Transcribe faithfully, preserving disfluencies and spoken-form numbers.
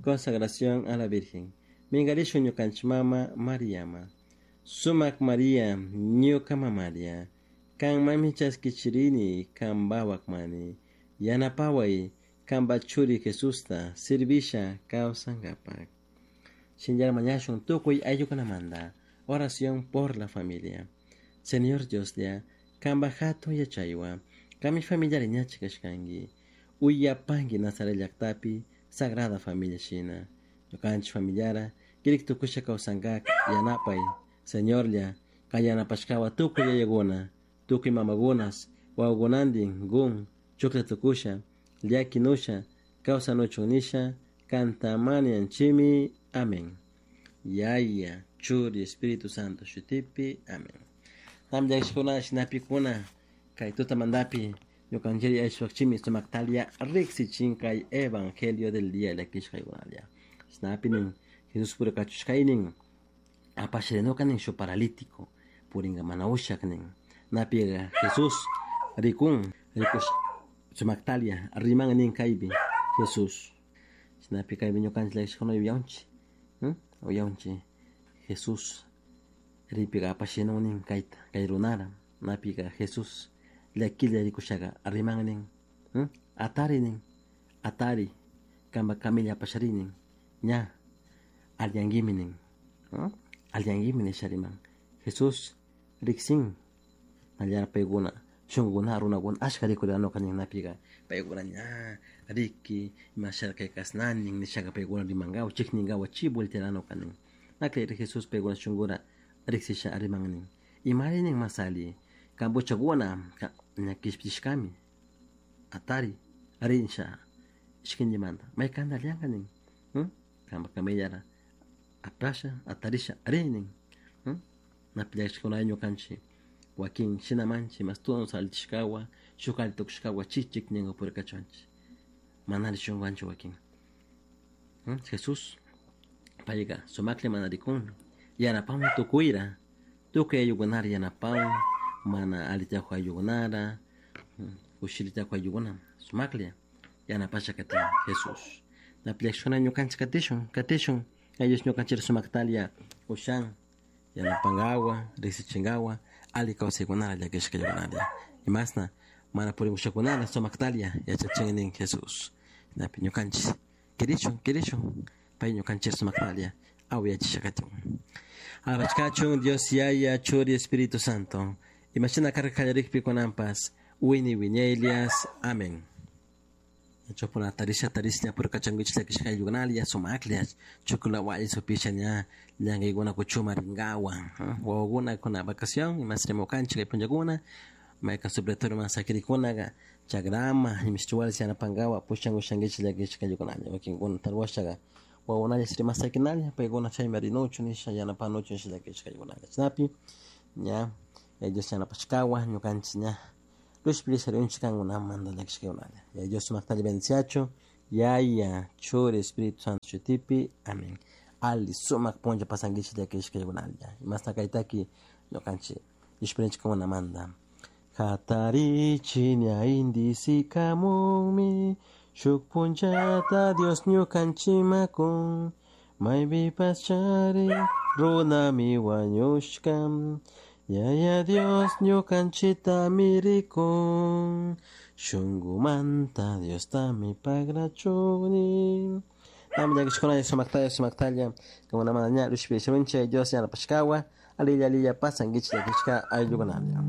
Consagración a la Virgen. Mingarishun ñukanchik mama Mariama. Sumak Maria, ñuka mamaria. Kanmanmi chaskichirini, kanpawakmani. Yanapaway, kanpa churi Jesusta, servisha kawsankapak. Shinllar mañashun tukuy ayllukunamanta. Oración por la familia. Señor Dioslla, kanpa hatun yachaywan, kanmi familiari ñachi kashkanki. Uyapanki Nazaret llaktapi, Sagrada Familia shina. Ñukanchik familiara, kirik tukusha kawsankak yanapay. Señorlla, kan yanapashkawa tukuy yayakuna, tukuy mamakunas, wawakunantin gun, chuklla tukusha, llakinusha, kawsanuchun nisha, kantamanianchimi. Amén. Yaya, Churi, Espíritu Santo, shutipi. Amén. Tam llakishkuna shinapikuna, kay tutamantapi, ñukanchik ayshwakchimi sumaktalia riksichin kay evangelio del día llakishkaykunalla. Shinapi nin, Jesús purikachushkaynin, apashrinuka nin shuk paralítico, purinka mana ushak nin. Napiga Jesús rikun, rikush sumaktalia riman nin kaypi Jesús. Shinapi kaypi ñukanchik llakishkuna uyawanchik, uyawanchik Jesús ripika apashinun nin kayta, kay runara. Napiga Jesús llakilla rikushaga riman nin, atari nin, atari, kanpa camilla apashari nin, ña alliyankimi nin, alliyankimi nisha riman. Jesús riksin nallara paykuna shunkukuna runakuna ashka rikurinuka nin napiga paykuna ña riki imashara kay kashnanin nishaka paykuna rimankawa chikninkawa chi volteanuka nin. Nakayri Jesús paykuna shunkura riksisha riman nin. Imari nin mas alli, kanpa huchakuna ña kishpichishkami, atari rinsha ishkinchimanta maykanta alliyanka nin, kanpa camillara apasha atarisha ri nin. Napi llakishkuna ñukanchik wakin shinamanchik mas tuwan allichishkawa shuk alli tukushkawa chi chikninka purikachuanchik mana alli shunkuwanchik wakin. Jesús payka sumaklla mana rikun yanapanmi tukuyra, tukuy ayllukunara yanapan, mana alli tiyak ayllukunara, kushilla tiyak ayllukuna sumaklla yanapasha katin Jesús. Napi llakishkuna ñukanchik katishun, katishun Dios ñukanchik sumaktalia ushan yanapankawa, riksichinkawa, alli kawsaykunara llakishkaykunalla. Imasna mana purimushakunara sumaktalia yachachin nin Jesús. Napi ñukanchik kirishun, kirishun, pay ñukanchik sumaktalia awiyachisha katin. Alabachkachun Dios Yaya, Churi, Espíritu Santo. Imashina karka kallarikpi kunanpas, wini wiñaylias. Amén. Chopuna tarisha tarisha purkachanguich llakishka ayllukunalia sumaklla chukula walli supisha ña llankaykuna kuchuma rinkawa, wawakuna kuna vacación imas rimukanchik kay punllakuna maykan supletorio mas sakirikunaka chakrama imishchiwalis yanapankawa pushan ushankichik llakishka ayllukunalla wakinkuna tarwashaka wawakunalla rimas sakinalla paykuna chaymi rinuchu nisha yanapanuchu nisha llakishka ayllukunalla. Chaynapi ña Dios yanapashkawa ñukanchik ña Lushpiri sarunchik kankunamanta llakishkaykunalla. Ya Dios sumaktalla bendiciachu, Yaya, Churi, Espíritu Santo shutipi. Amén. Alli sumak punlla pasankichik llakishkaykunalla. Imasna kaytaki ñukanchik ishpirinchik kankunamanta. Hatarichi ña indisikamunmi, shuk punllata Dios ñukanchimakun, maypipas chari runami wañushka, Yaya Dios ñukanchitami rikun, shunkumanta Diostami pagrachuni. Nami llakishkuna sumaktalla sumaktalla kankunamanta ña lushpi sarunchik Dios yanapashkawa, alilla alilla pasankichik llakishka ayllukunalla.